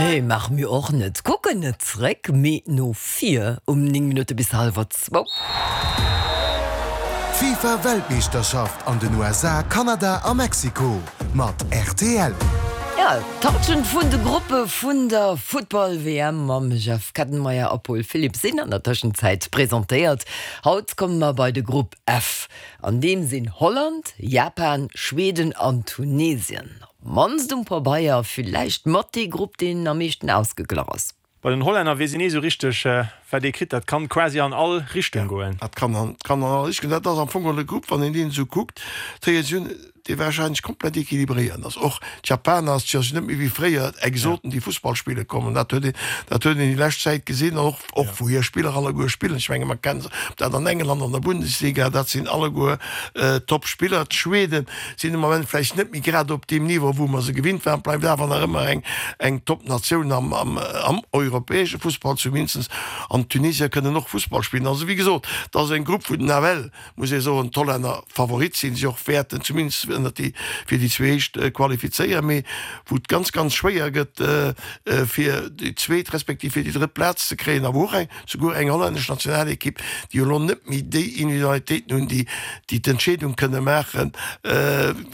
Nee, maache mir och net. Kucken net zréck, mee no vir. Um 9 Minutte bis hallwer zwou. D'FIFA Weltmeeschterschaft an den USA, Kanada a Mexiko mat rtl. Jo, d'Halschent vun de Gruppe vun der Futtball-WM mam Jeff Kettenmeyer a Paul Philipp sinn an der Tëschenzäit presentéiert. Haut komme mer bei de Grupp F. An deem sinn Holland, Japan, Schweden an Tunesien. Op d'mannst um Pabeier villäicht mat dee Grupp, deen am meeschten ausgeglach ass. Bei den Hollänner weess een ni esou richteg, wat ee kritt. Dat kann quasi an all Richtung goen. Dat kann an kann an all Richtung. Dat ass am Fong geholl e Grupp, wann een deen esou kuckt, d'Héier si hunn, dee warscheinlech komplett equilibréiert ass. Och d'Japaner, ass jo net méi wéi fréier Exoten, déi Fussball spille kommen. Dat huet een, dat huet een déi lescht Zäit gesinn, och och wou hir Spiller alleguer spillen. Ech menge mer kennen se, ob dat an England an der Bundesliga, dat sinn alleguer Top-Spiller. D'Schweden sinn de Moment vläicht net méi grad op deem Niveau, wou mer se gewinnt waren, bleift awer nach ëmmer eng, eng Top-Natioun am, am, am europäesche Fussball zumindest. An d'Tunesier kënnen och Fussball spillen. Also wéi gesot, et ass eng Grupp, wou nawell, muss ee soen, d'Hollänner Favorit sinn, sech och wäerten zumindest ënnert déi, fir déi zwee éischt qualifizéieren, mee wou et ganz, ganz schwéier gëtt, fir déi zweet respektiv fir déi drëtt Plaz ze kréien a wou och eng, Souguer eng hollännesch Nationalekipp, déi jo elo net méi déi Individualitéiten hunn, déi déi d'Entscheedung kënne maachen,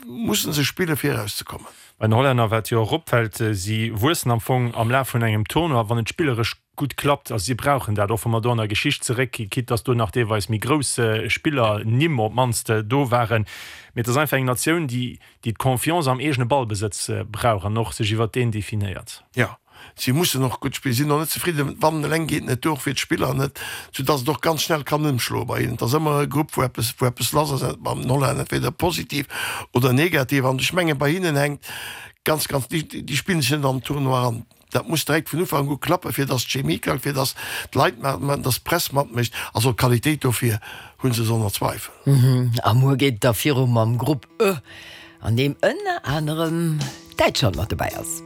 musse se spillen, fir erauszekommen. Bei den Hollänner, wat jo och opfält, si wuessen am Fong am Laf vun engem Tournoi, wann et spilleresch gutt klappt. Also si brauchen dat, och wa mer do an der Geschicht zeréckginn, quitte dass do nach deelweis méi grouss Spiller, Nimm op d'mannst, do waren. Mee et ass einfach eng Natioun, déi déi d'Confiance am eegene Ballbesëtz brauch an och sech iwwert deen definéiert. Jo, si mussen och gutt spillen, sinn och net zefridden, wannen eleng geet net duer, och fir d'Spiller net, soudass et och ganz schnell kann ëmschloe bei hinnen. Et ass ëmmer e Grupp, wou eppes, wou eppes lass ass, beim Holland entweder positiv oder negativ. An ech mengen, bei hinnen hänkt ganz, ganz, déi, déi spillen sech net an den Tournoi eran. Dat muss direkt vun Ufank u klappen, fir dass d'Chemie klappt, fir dass d'Leit matmaachen, dass d'Press matmécht. Also d'Qualitéit dofir hu se sonner Zweifel. A muer geet et da viru mam Grupp E, an deem ënner anerem Däitschland mat dobäi ass.